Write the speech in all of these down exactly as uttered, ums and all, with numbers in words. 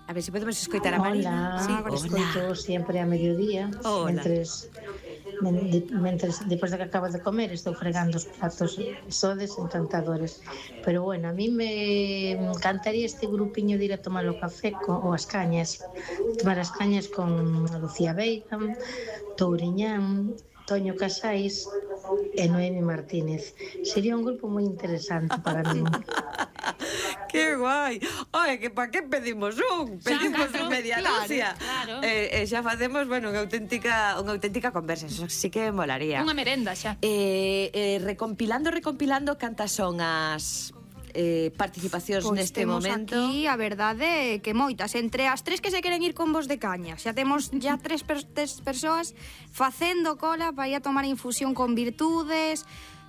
A ver se podemos escoitar a Marina. Hola, Sí, escoito sempre a mediodía. Hola. Mentres, men, de, mentres, depois de que acabo de comer, estou fregando os platos. Sodes encantadores. Pero bueno, a mí me encantaría este grupiño de ir a tomar o café con, ou as cañas. Tomar as cañas con Lucía Veiga, Touriñán, Toño Casais e Noemi Martínez. Sería un grupo moi interesante para mí. Que guai. Oye, que pa que pedimos un? Pedimos un media dúcia. Claro, claro. Eh, eh, xa facemos, bueno, unha auténtica unha auténtica conversa. Eso sí que molaría. Unha merenda xa. Eh, eh, recompilando, recompilando cantas son as eh, participacións Pois neste temos momento. aquí, a verdade, que moitas. Entre as tres que se queren ir con vos de caña, xa temos ya tres, per tres persoas facendo cola para ir a tomar infusión con virtudes.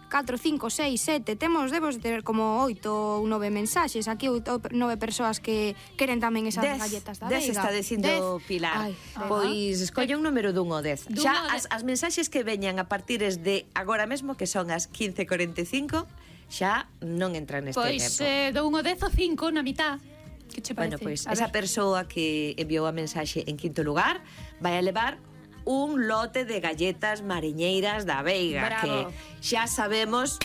catro, cinco, seis, sete, temos, debemos ter como oito ou nove mensaxes. Aquí oito, nove persoas que queren tamén esas Dez, galletas da dez Veiga. está dicindo Dez. Pilar. Ai, Pois escolle un número dun ou dez. Dun Xa ou as, as mensaxes que veñan a partires de agora mesmo, que son as quince e cuarenta e cinco, xa non entran neste Pois tempo. eh, do un ao dez o cinco na mitad. Que che Bueno, parece? pois A esa ver. persoa que enviou a mensaxe en quinto lugar vai a levar un lote de galletas mariñeiras da Veiga. Bravo. Que xa sabemos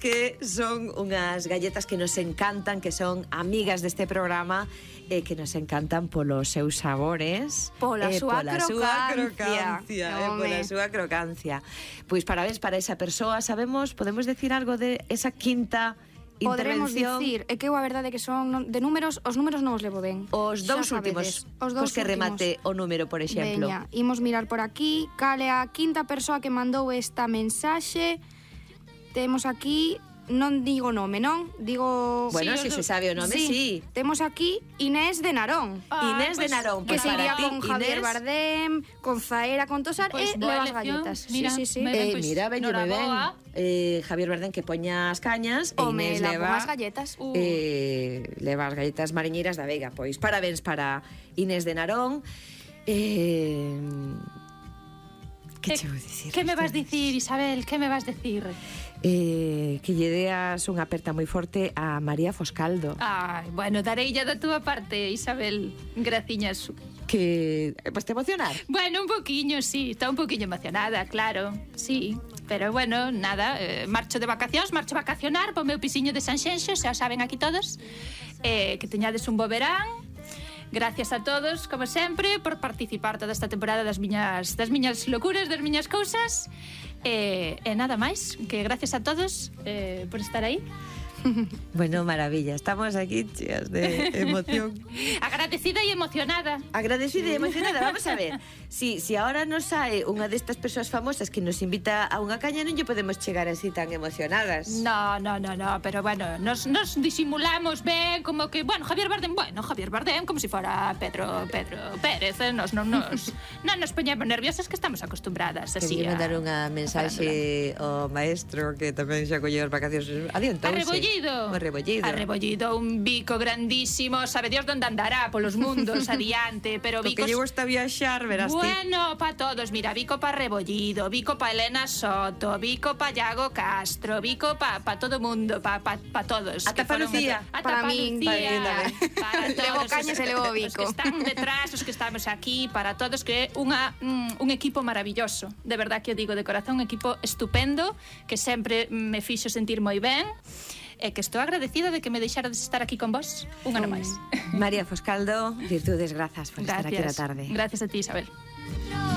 que son unhas galletas que nos encantan, que son amigas deste programa e que nos encantan polos seus sabores, Pola e súa pola súa crocancia. crocancia, e Home. pola súa crocancia. Pois parabéns para esa persoa. Sabemos, podemos decir algo de esa quinta Podremos intervención? dicir, é que eu a verdade que son non- de números, os números non os levo ben. Os Xa dous últimos, sabedes, os dous cos que últimos. remate o número, por exemplo. Veña, imos mirar por aquí. Cal é a quinta persoa que mandou esta mensaxe? Temos aquí, non digo nome, non? Digo... Bueno, Sí, si os se dous. sabe o nome, sí. Temos aquí Inés de Narón. Ah, Inés de pois, Narón, Que pois se para iría ti, con Javier Inés. Bardem, con Zaera, con Tosar Pois e boa leva as elección. galletas. Mira, sí, sí, sí. me- Ben, Eh, pois, mira, veño moi ben. noraboa. Eh, Javier Bardem que poña as cañas e Home, Inés la leva as galletas. Uh. eh, leva as galletas mariñeiras da Veiga. Pois parabéns para Inés de Narón. Eh, que Eh, che vou dicir? Que me vas dicir, Isabel? Que me vas dicir? Eh, que lle deas unha aperta moi forte a María Foscaldo. Ai, bueno, dareilla da túa parte, Isabel. Graciñas. Que pues te emocionar. Bueno, un poquiño, sí. Está un poquiño emocionada, claro. Sí. Pero bueno, nada, eh, marcho de vacacións, marcho a vacacionar po meu pisiño de Sanxenxo, xa o saben aquí todos. Eh, que teñades un bo verán. Gracias a todos, como sempre, por participar toda esta temporada das miñas das miñas locuras, das miñas cousas. E, e nada máis, que gracias a todos eh, por estar aí. Bueno, maravilla. Estamos aquí cheas de emoción. Agradecida e emocionada. Agradecida e emocionada. Vamos a ver. Si, si ahora nos sae unha destas persoas famosas que nos invita a unha caña, non lle podemos chegar así tan emocionadas. No, no, no, no, pero bueno, nos, nos disimulamos ben, como que, bueno, Javier Bardem, bueno, Javier Bardem, como si fora Pedro, Pedro Pérez, eh, nos non nos, non nos poñemos nerviosas, que estamos acostumbradas así Quería a... mandar unha mensaxe ao maestro que tamén xa colleu as vacacións. Adiantouse. Arrebollido. O rebollido. Arrebollido, un bico grandísimo, sabe Dios onde andará polos mundos adiante, pero Lo que bicos... lle gusta viaxar, verás ti. Bueno, pa todos, mira, bico pa Rebollido, bico pa Elena Soto, bico pa Iago Castro, bico pa, pa todo mundo, pa, pa, pa todos. Ata que pa foron- Lucía. Ata Para pa min, Lucía, para mí para Levo todos cañas os- e levo Os bico. que están detrás, os que estamos aquí, para todos, que é unha, mm, un equipo maravilloso. De verdad que o digo de corazón, un equipo estupendo, que sempre me fixo sentir moi ben, e que estou agradecida de que me deixarades estar aquí con vos un ano máis. María Foscaldo, virtudes, grazas por estar aquí na tarde. Gracias a ti, Isabel.